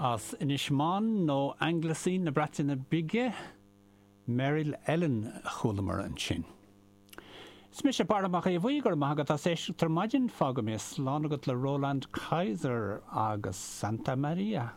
As Inis Meáin nó Anglesey na Breataine Bige, Meryl Ellen a chualamar ansin. Is mise Barra Mac Aodha Bhuí, go raibh maith agat as éisteacht ar maidin, fágfaidh mé slán agat le Roland Kaiser agus Santa Maria.